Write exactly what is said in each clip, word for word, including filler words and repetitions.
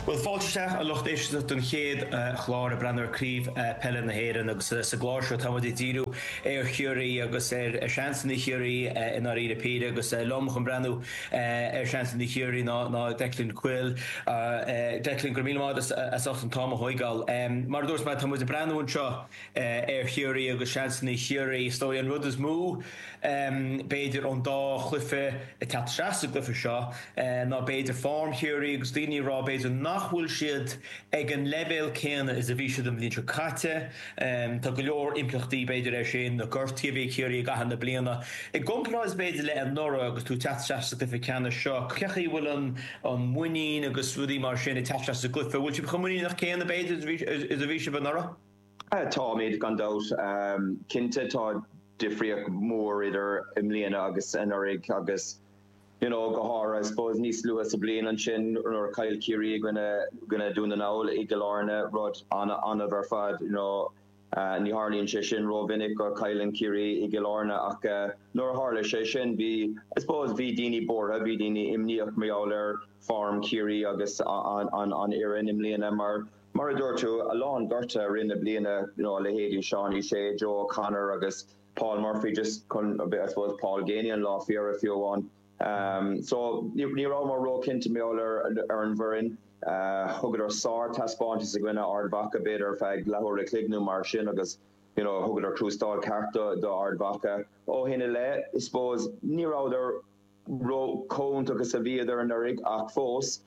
Bhuel fáilte isteach a lucht éisteachta don chéad chlár ag breathnú ar Craobh Peile na hÉireann agus sa gclár seo táimid ag díriú ar Chiarraí agus ar seansanna Chiarraí i ndáiríre píre agus liom chun breathnú ar seansanna Chiarraí ná ná Declan Quill. Declan go raibh míle maith agat as ucht an t-am a thógáil. Mar a dúirt mé tá muid ag breathnú anseo ar Chiarraí agus seansanna Chiarraí. Is dóigh an rud is mó b'fhéidir ón dá chluiche ag teacht isteach sa gcluiche seo ná b'fhéidir form Chiarraí agus daoine ag rá b'fhéidir nach bhfuil siad ag an leibhéal céanna is a bhí siad an bhliain seo caite. Tá go leor impleachtaí b'fhéidir air sin na gortuithe a bhí ag Ciarraí i gcaitheamh na bliana. I gcomparáid b'fhéidir le anuraidh agus tú ag teacht isteach sa gcluiche ceannais seo, cén chaoi a bhfuil an an muinín agus rudaí mar sin ag teacht isteach sa gcluiche, bhfuil sibh chomh muiníneach céanna b'fhéidir is a bhí sibh anuraidh? Táimid gan dabht. Cinnte tá difríocht mhór idir i mbliana agus anuraidh agus you know go háirithe I suppose níos luaithe sa bhliain ansin nuair a chaill Ciarraí i gcoinne gcoinne Dún na nGall i gCill Airne rud an-annamh ar fad you know ní tharlaíonn sé sin rómhinic go gcailleann Ciarraí i gCill Airne ach nuair a tharla sé sin bhí I suppose bhí daoine buartha bhí daoine imníoch mar gheall ar form Chiarraí agus an an an fhoireann i mbliana mar mar a dúirt tú a lán gortuithe i rith na bliana you know leithéidí Seánie Shea, Joe O'Connor agus Paul Murphy just chun I suppose Paul Geaney an lá fiara fiú amháin. Um, so ní rabhamar róchinnte mar gheall ar ar an bhfoireann uh, thugadar sár-taispeántas i gcoinne Ard Mhacha b'fhéidir ar feadh leathuair an chloig nó mar sin agus you know, thugadar crustáil ceart do, do Ard Mhacha. Ó shin i leith, I suppose ní rabhadar ró chomh agus a bhíodar anuraidh ach fós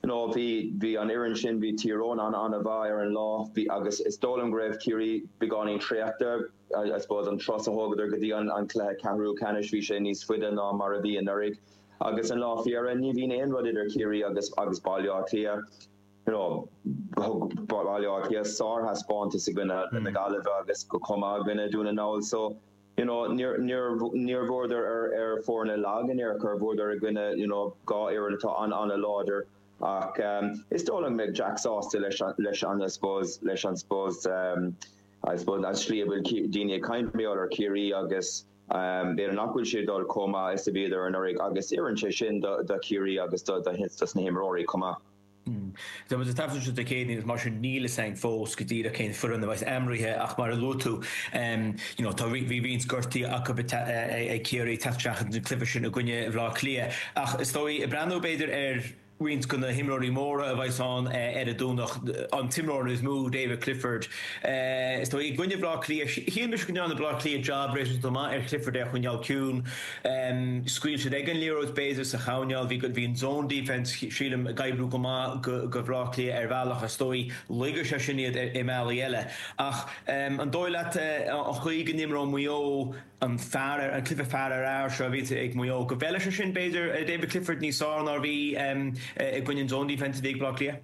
you know, bhí bhí an fhoireann sin bhí Tír Eoghain an an-mhaith ar an lá bhí agus is dóigh liom go raibh Ciarraí beagáinín traochta I suppose an turas a thógadar go dtí an an cluiche ceathrú ceannais bhí sé níos faide ná mar a bhí anuraidh agus an lá fiara ní bhíonn aon rud idir Ciarraí agus agus Baile Átha Cliath. You know, Baile Átha Cliath sárthaispeántas i gcoinne na Gaillimhe agus go chomh maith i gcoinne Dún na nGall so you know, níor níor bhuadar ar ar foirne lag in aon chor bhuadar i gcoinne you know, dhá fhoireann atá an an-láidir ach um, is dóigh liom go Jack sásta leis leis an I suppose leis an suppose um, I suppose an slí a bhfuil daoine ag caint mar ar Chiarraí agus um, b'fhéidir nach bhfuil sé dul chomh maith is a bhíodar anuraidh agus oireann sé sin do, do Chiarraí agus do, do, do na himreoirí chomh maith. Tá muid ag taifeadadh seo Dé Céadaoin mar sin níl a fhios againn fós go díreach cén foireann a bheas aimrithe ach mar a luaigh tú you know, tá bhí roinnt gortuithe acu ag Ciarraí teacht isteach an cluiche sin i gcoinne Bhaile Átha Cliath ach is dóigh ag breathnú b'fhéidir ar roinnt de na himreoirí móra a bheas ann ar an Domhnach an t-imreoir is mó David Clifford. Is dóigh i gcoinne Bhaile Átha Cliath shíl mise go ndearna Baile Átha Cliath job réasúnta maith ar Clifford é a choinneáil ciúin. Scaoil siad ag an liathróid b'fhéidir sa choirnéal bhí bhí an zone defense sílim ag oibriú go maith go go Baile Átha Cliath ar bhealach is dóigh laga sé sin iad i mbealaí eile. Ach an dóigh leat an chaoi go n-imreoidh Maigh Eo an fear an cluiche fear ar fhear seo a bhí ag Maigh Eo go bhfeilfidh sé sin b'fhéidir David Clifford níos fearr ná bhí i gcoinne an zone defense a bhí ag Baile Átha Cliath?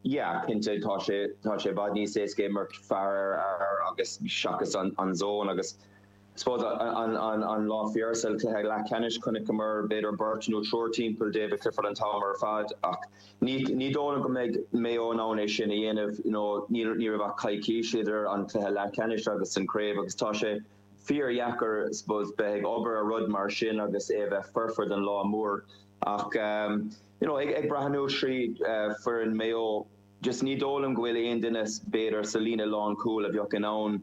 Yeah, cinnte tá sé tá sé i bhfad níos éasca imirt fear ar fhear agus seachas an, an zone agus suppose an, an, an lá fiara sa cluiche leathcheannais chonaiceamar b'fhéidir beirt nó triúr timpeall David Clifford an t-am ar fad ach ní ní dóigh go mbeidh Mayo in ann é sin a dhéanamh you know, ní ní raibh ach coicís idir an cluiche leathcheannais agus an craobh agus tá sé fíordheacair suppose bheith ag obair ar rud mar sin agus é bheith foirfe don lá mór ach um, you know, ag, ag breathnú trí uh, foireann Mayo just ní dóigh liom go bhfuil aon duine b'fhéidir sa líne lánchúil a bheadh in ann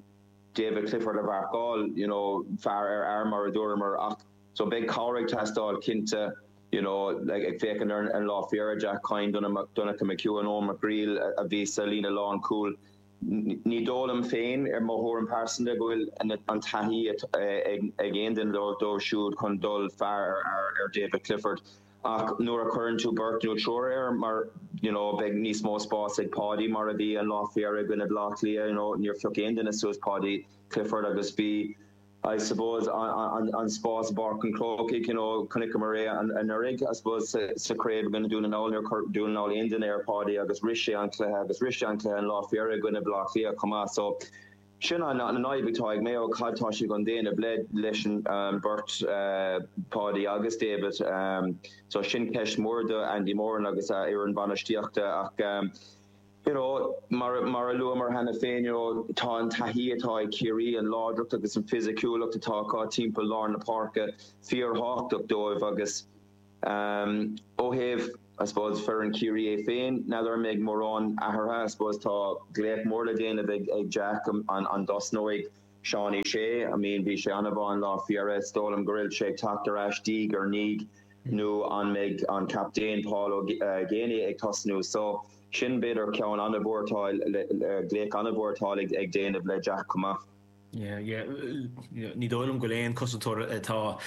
David Clifford a mharcáil you know, fear ar fhear mar a dúramar ach so beidh cabhair ag teastáil cinnte you know, like, ag féachaint ar an lá fiara Jack Coyne Donncha McHugh an Eoin McGreal a bhí sa líne lánchúil. Ní dóigh liom féin ar mo thuairim pearsanta go bhfuil an taithí ag aon duine dóibh siúd chun dul fear ar, ar David Clifford. Ach nuair a chuireann tú beirt nó triúr air mar you know, beidh níos mó spás ag Paudie mar a bhí an lá fiara i gcoinne Baile Átha Cliath you know, níor phioc aon duine suas Paudie Clifford agus bhí I suppose an, an, an spás Páirc an Chrócaigh you know, chonaiceamar é anuraidh I suppose sa, sa chraobh i gcoinne Dún na nGall níor chuir Dún na nGall aon duine ar Paudie agus rith sé an cluiche agus rith sé an cluiche an lá fiara i gcoinne Baile Átha Cliath chomh maith so sin an an fhadhb atá ag Mayo cad tá sé chun déanamh le leis an um, beirt uh, Paudie agus David um, so sin ceist mór do Andy Moran agus a fhoireann bainistíochta ach um, you know, mar mar a luamar cheana féin you know, tá an taithí atá ag Ciarraí an láidreacht agus an fisiciúlacht atá acu timpeall lár na páirce fíorthábhachtach dóibh agus um, ó thaobh I suppose foireann Chiarraí é féin, n'fheadar an mbeidh mórán athraithe, I suppose tá glaoch mór le déanamh ag ag Jack an an dtosnóidh Seánie Shea, I mean bhí sé an-mhaith an lá faoi dheireadh, is dóigh liom go bhfuil sé ag teacht ar ais diaidh ar ndiaidh nó an mbeidh an captaen Paul Ó Geaney ag tosnú so sin b'fhéidir ceann an-mhór atá le glaoch an-mhór atá ag ag déanamh le Jack chomh maith. Yeah, yeah. Ní dóigh liom go bhfuil aon cosantóir atá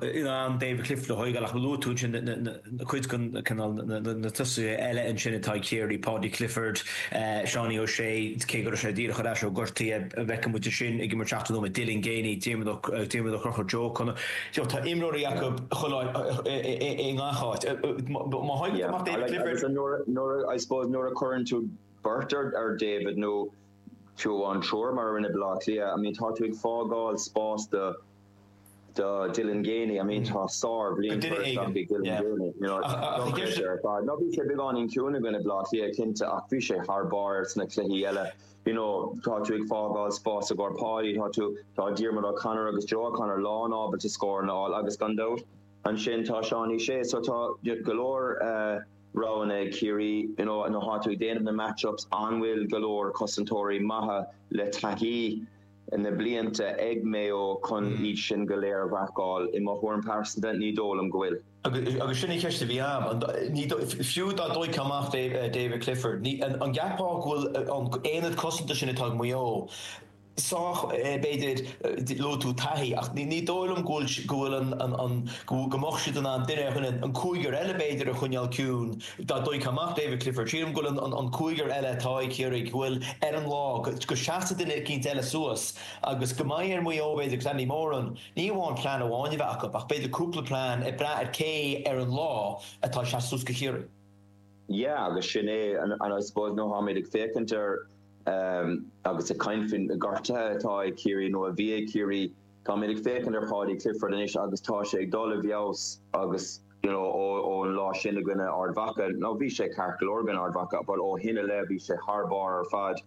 in ann David Clifford a thógáil ach luaigh tú ansin na cuid den cineál na tosaithe eile ansin atá ag Ciarraí, Paudie Clifford, Seánie O'Shea, cé go raibh sé díreach ar ais ó gortaithe, feicfidh muid ansin ag imirt seachtó nóiméad, Dylan Geaney, Diarmuid Ó Conchúir, Joe O'Connor. Tá imreoirí acu chuile áit i ngach áit. Má thagann tú amach David Clifford. Nuair, I suppose, nuair a chuireann tú beirt ar David nó fiú amháin triúr mar a rinne Baile Átha Cliath, I mean tá tú ag fágáil spás do do Dylan Geaney, I mean tá sár-bhliain curtha isteach ag Dylan Geaney, you know, dochreidte ar fad. Now bhí sé beagáinín ciúin i gcoinne Baile Átha Cliath cinnte ach bhí sé thar barr sna cluichí eile, you know, tá tú ag fágáil spás i gcomhair Paudie, tá tú, tá Diarmuid O'Connor agus Joe O'Connor lán ábalta scóranna a fháil agus gan dabht ansin tá Seánie Shea so tá go leor eh, roghanna ag Ciarraí, you know, nuair atá tú ag déanamh na match-ups, an bhfuil go leor cosantóirí maithe le taithí na blianta ag Maigh Eo chun iad sin go léir a mharcáil? I mo thuairim pearsanta, ní dóigh liom go bhfuil. Agus sin an cheist a bhí agam, fiú dá dtógfá amach David Clifford, an gceapfá go bhfuil an aonad cosanta sin atá ag Maigh Eo, sách, b'fhéidir, luaigh tú taithí, ach ní dóigh liom go bhfuil, go bhfuil an, an, an, go go mbeadh siad in ann duine ar dhuine, an cúigear eile b'fhéidir a choinneáil ciúin dá dtógfá amach David Clifford. Sílim go bhfuil an, an, an cúigear eile atá ag Ciarraí, go bhfuil ar an lá, go, go seasfaidh duine eicínt eile suas agus go mbeidh ar Mhaigh Eo b'fhéidir agus Andy Moran, ní amháin plean amháin a bheith acu ach b'fhéidir cúpla plean ag brath ar cé ar an lá atá ag seasamh suas do Chiarraí. Yeah, agus sin é, and I suppose nuair atáimid ag féachaint ar agus ag caint faoin gortuithe atá ag Ciarraí nó a bhí ag Ciarraí, táimid ag féachaint ar Paudie Clifford anois agus tá sé ag dul i bhfeabhas agus you know ó ón lá sin i gcoinne Ard Mhacha, nó bhí sé ceart go leor i gcoinne Ard Mhacha but ó shin i leith bhí sé thar barr ar fad,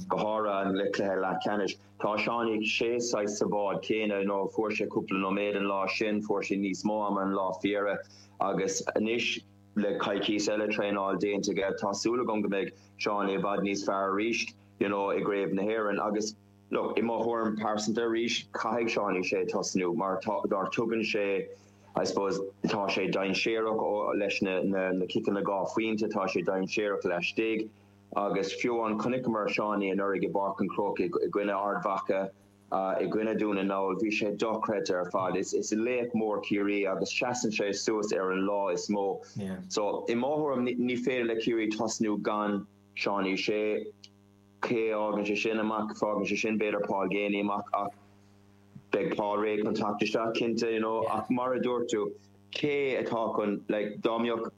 go háirithe an le cluiche leathcheannais. Tá Seánie Shea saghas sa bhád céanna, you know fuair sé cúpla nóiméad an lá sin, fuair sé níos mó ama an lá faoi dheireadh agus anois, Le coicís eile traenáil déanta aige, tá súil agam go mbeidh Seánie i bhfad níos fearr arís, you know, i gCraobh na hÉireann. Agus, look, i mo thuairim pearsanta arís, caithfidh Seánie Shea tosnú mar tá, mar tugann sé, I suppose, tá sé dainséarach ó, leis na, na, na ciceanna dhá phointe, tá sé dainséarach laistigh agus fiú amháin chonaiceamar Seánie anuraidh i bPáirc an Chrócaigh i gcoinne Ard Mhacha, I gcoinne Dún na nGall, bhí sé dochreidte ar fad. Is laoch mór Ciarraí agus seasann sé suas ar an lá is mó. So, i mo thuairim, ní féidir le Ciarraí tosnú gan Seánie Shea. Cé a fhágann sé sin amach? Fágann sé sin b'fhéidir Paul Geaney amach ach beidh Paul réidh chun teacht isteach cinnte, you know. Ach mar a dúirt tú, cé atá chun, like, dá mbeadh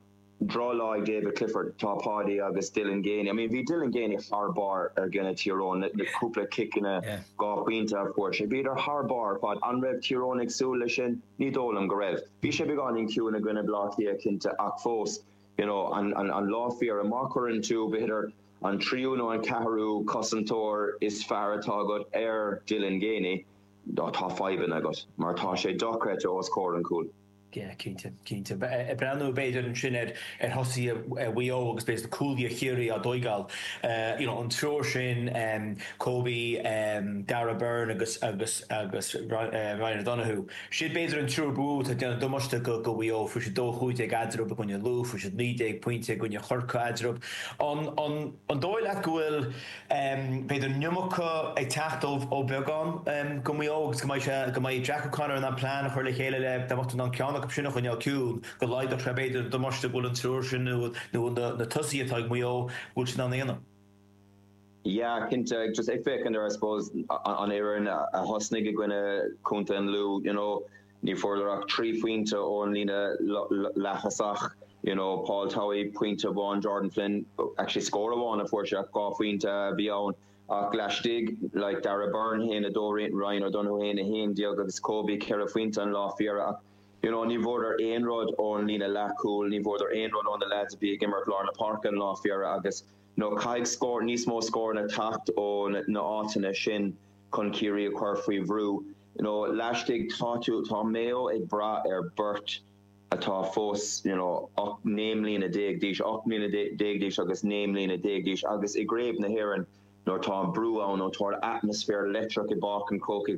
drochlá ag David Clifford, tá Paudie agus Dylan Geaney. I mean bhí Dylan Geaney thar barr i gcoinne Tír Eoghain, na cúpla ciceanna dhá phointe a fuair sé. Bhíodar thar barr ar fad. An raibh Tír Eoghain ag súil leis sin? Ní dóigh liom go raibh. Bhí sé beagáinín ciúin i gcoinne Baile Átha Cliath cinnte ach fós, you know, an an lá faoi dheireadh, má chuireann tú, b'fhéidir, an tríú nó an ceathrú cosantóir is fearr atá agat ar Dylan Geaney, tá fadhbanna agat mar tá sé dochreidte os comhair an chúil. Yeah, cinnte, cinnte. Ag breathnú b'fhéidir ansin ar ar thosaithe Mhaigh Eo agus b'fhéidir cúlaithe Chiarraí á dtóigeáil, you know, an triúr sin, Kobe, Darragh Beirne agus agus agus Ryan O'Donoghue, siad b'fhéidir an triúr ba mhó atá ag déanamh damáiste go go Mhaigh Eo. Fuair siad dó chúig déag eadarthu i gcoinne Lú, fuair siad naoi déag pointe i gcoinne Chorcaí eadarthu. An an an dóigh leat go bhfuil b'fhéidir an iomarca ag teacht ó bheagán go Maigh Eo agus go mbeidh sé, go mbeidh Jack O'Connor in ann plean a chur le chéile le dá mbeadh tú in ann ceann acu sin a choinneáil ciúin, go laghdódh sé b'fhéidir an damáiste go bhfuil an triúr sin nó nó na tosaithe atá ag Maigh Eo, go bhfuil siad in ann a dhéanamh. Yeah, cinnte. Just ag féachaint ar, I suppose, an fhoireann a thosnaigh i gcoinne Chontae an Lú, you know, Ní fuaireadar ach trí phointe ón líne leath-thosach, you know, Paul Towey, pointe amháin, Jordan Flynn, actually scór amháin a fuair sé ach dhá phointe a bhí ann ach laistigh, like Darragh Beirne, haon a dó, Ryan O'Donoghue, haon a haon déag agus Kobe ceithre phointe an lá faoi dheireadh ach, you know, ní bhfuaireadar aon rud ón líne leath-chúil, ní bhfuaireadar aon rud ó na lads a bhí ag imirt lár na páirce an lá faoi dheireadh agus, you know, caithfidh scór, níos mó scóranna teacht ó na áiteanna sin chun Ciarraí a chur faoi bhrú. You know, laistigh, tá tú, tá Mayo ag brath ar beirt atá fós you know, naoi mbliana déag d'aois ocht mbliana déag d'aois agus naoi mbliana déag d'aois agus i gCraobh na hÉireann nuair tá an brú ann nó tá atmaisféar leictreach i bPáirc an Chrócaigh